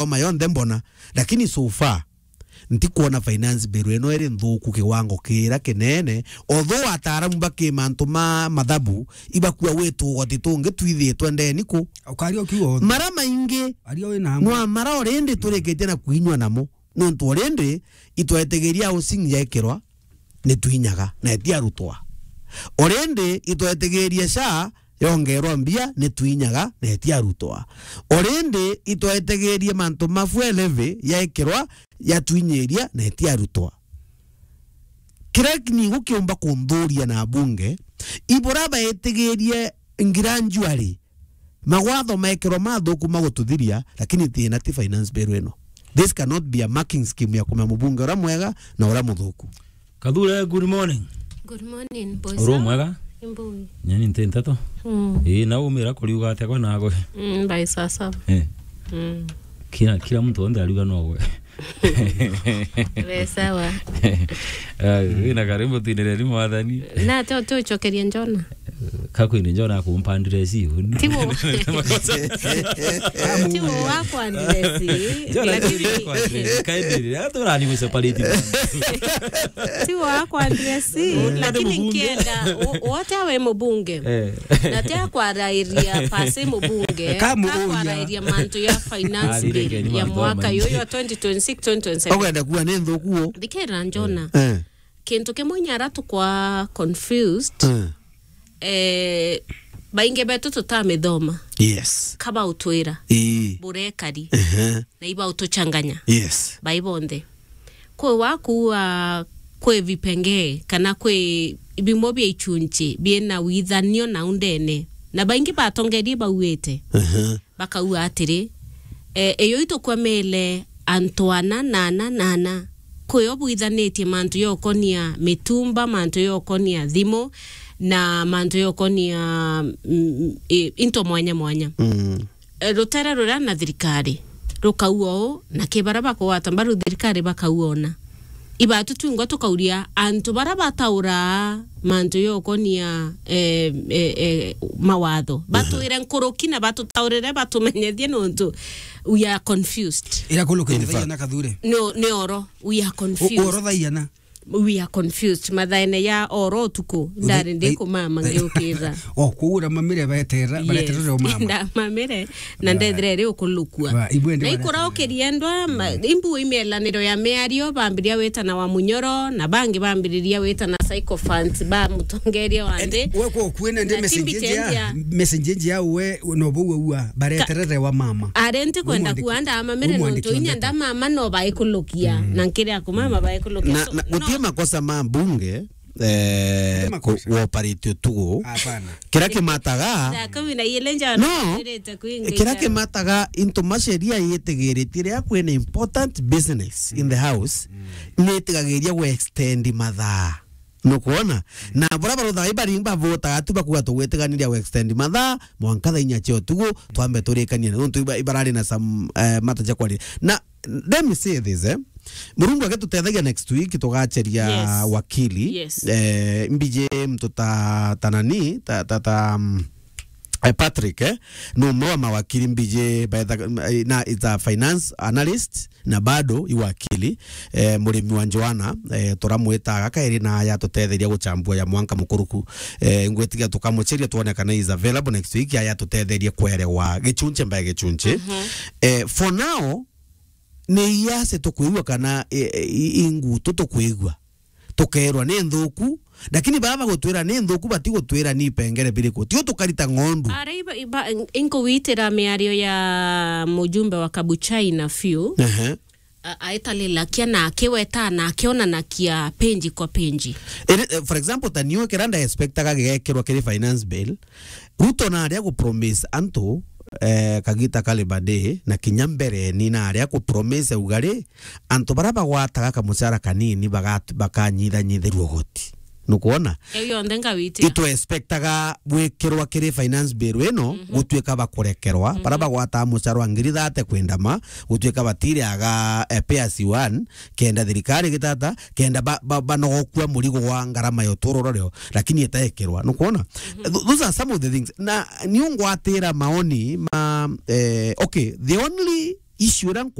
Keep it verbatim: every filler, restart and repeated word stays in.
ngoma yonthe mbona. Lakini so far, ntikwona finance bill ino iri nthuku kiwango kira kinene, although ataaramu ba ki mantu ma mathabu ibakua gwi tugoti tungi twithitwe ndeni ku. Ukaria ukiuga othe. Mara maingi aria wina amwe. Nwa mara already turikitie na kuinywa namo. Nontu already itwetigiria housing yaikirwa ni twinyaga na etiarutwa. Already itwetigiria SHA yongerwa mbia ni twinyaga na etiarutwa. Already itwetigirie mantu ma fuel levy yaikirwa yatwinyiria na etiarutwa. Kiria ni gukiumba kunthuria na bunge, ibura baetigirie gradually magwatho mekirwa mathuku magututhiria, lakini thina ti finance bill ino. This cannot be a marking scheme ya kumenya mubunge uria mwega na uria muthuku. Kathure, good morning. Good morning, boys. Uri mwega? Imbui. Nyeni nti nteto. Mm. Ii, na umira kuriuga atia kwa nago? Mm, by sasa. Eh. Mm. Kila, kila mtu onde ariuga nogwe. We sawa. Ah, wina karimbo twinire ni mwathani. Na to, to chokeria Njona. Kakwini Njona akumpandire si. Tiwo. Tiwo wakwa ndire si. Njona lakini kwa ndire. Kaendire. Aturani mu separate. Tiwo wakwa ndire si. Lakini nkienda, wo-, wote awe mubunge. Eh. Na te akwarairia pasi mubunge. Ka mubunge. Akwarairia mantu ya finance bill ya mwaka yuyu wa twenty twenty-six, twenty twenty-seven. Ogenda kuwa ni nthuku. Thikira Njona. Eh. Kintu kimwe nyara tukwa confused. Eh. Eh, baingi betu tutamithoma. Yes. Kaba utwira. Ii. Burekari. Ehe. Na iba utuchanganya. Yes. Bai bonthe. Kwi wakuua kwi vipengee kana kwi bimwe bia ichunchi biina withanio na undene. Na baingi batongerie bauite. Ehe. Bakauga atiri, eh, iyo itukwamile antu ana na ana na ana. Kwi o bwithanitie mantu yokonia mitumba, mantu yokonia thimu, na mantu yokonia, mm, i-, into mwanya mwanya. Mm. Eh, rutere ruria na thirikari rukauga uu, na ki baria bakugwata mbaru thirikari bakauga una. Ibatu twingwa tukauria antu baria batauraa mantu yokonia, eh, eh, eh, mawatho. Aha. Batwire nkuruki na batutaurire, batumenyethie nontu we are confused. Ira kuluka. In fact. Thaia na Kathure. No, ni oro, we are confused. U-, oro thaia na. We are confused. Mathaene ya oro utuku, ndari ndi kumama ngiukira. O, kuura mamire baetera, yes, bareterere o mama. Ndamamire, na ndethire ri ukulukua. Ba, ibwe ndi na ikura ukiriendwa, ma-, imbu imielaniro ya miario, bambiria witana wa Munyoro, na bangi bambiriria witana sycophants ba mutongeria wa nthi. We kwa ukuene ndi na message timbi ya, ya, message ya we no bo ua, bareterere wa mama. Are nti kwenda kuwa ndamamire nontu inya ndamama no baikulukia, na nkiria kumama baikulukia. Na, so, na, gutie no makosa ma mbunge, eh, ku-, kuoperate utugu. Hapana. Kiria kimataga, thaa kumi na ile nja no, ndirite kuingia. Kiria kimataga into masheria yitigiritie riria kwina important business in the house, nitigagiria gu extend mathaa. Nukwona? Na bura baruthaga ibari bavotaga tu bakuga tugwitiganiria gu extend mathaa, mwanka thaa inya cia utugu, twambe turikanie. Nontu iba-, ibarari na some, eh, mata ja kwaria. Na let me say this, eh. Murungu agitutethagia next week tugacheria, yes, wakili. Yes. Eh, mbiji mtu ta, ta nani, ta, ta, ta, mm, eh, Patrick, eh, ni umwe wa mawakili mbiji betha-, eh, na is a finance analyst na bado i wakili, eh, murimi wa Joana, eh, turamwitaga kairi na aya tutetheria guchambua ya mwanka mukuruku. Eh, ngwitiga tukamucheria tuone kana is available next week, aya tutetherie kwerewa gichunche by gichunche. Mhm. Eh, for now, ni iase tukwigua kana, e, e, i, i ngutu tukwigua. Tukerwa ni nthuku, lakini baba gutwira ni nthuku, bati gutwira ni ipengere biriku. Tio tukarita ng'ondu. Ara iba, iba, in-, inkuwitira miario ya mujumbe wa Kabuchai na Fiu. Ehe. A-, aitalilakia na akiweta na akionanakia page kwa page. Ere, eh, for example, ta niu kira nda expectaga gigekirwa kiri finance bill, Ruto naria gu promise antu, eh, kagita kari bade, na kinya mbere ni naria gu promise ugari, antu baria bagwataga kamucara kanini bagat-, bakanyithanyithirua ugoti. Nukwona? Iu yonthe ngawiti. Itu expectaga gwikirwa kiri finance bill ino, mhm, gutuika bakurekerwa, mhm, baria bagwataga mucara wa ngiri thate kwendama, gutuika batiriaga, eh, P S one, kenda thirikari gitata, kenda ba-, ba-, banogokua murigo wa ngarama ya uturo uria rio, lakini itaekirwa. Nukwona? Mhm. Th-, those are some of the things. Na niungwatira maoni ma, eh, okay, the only issue iria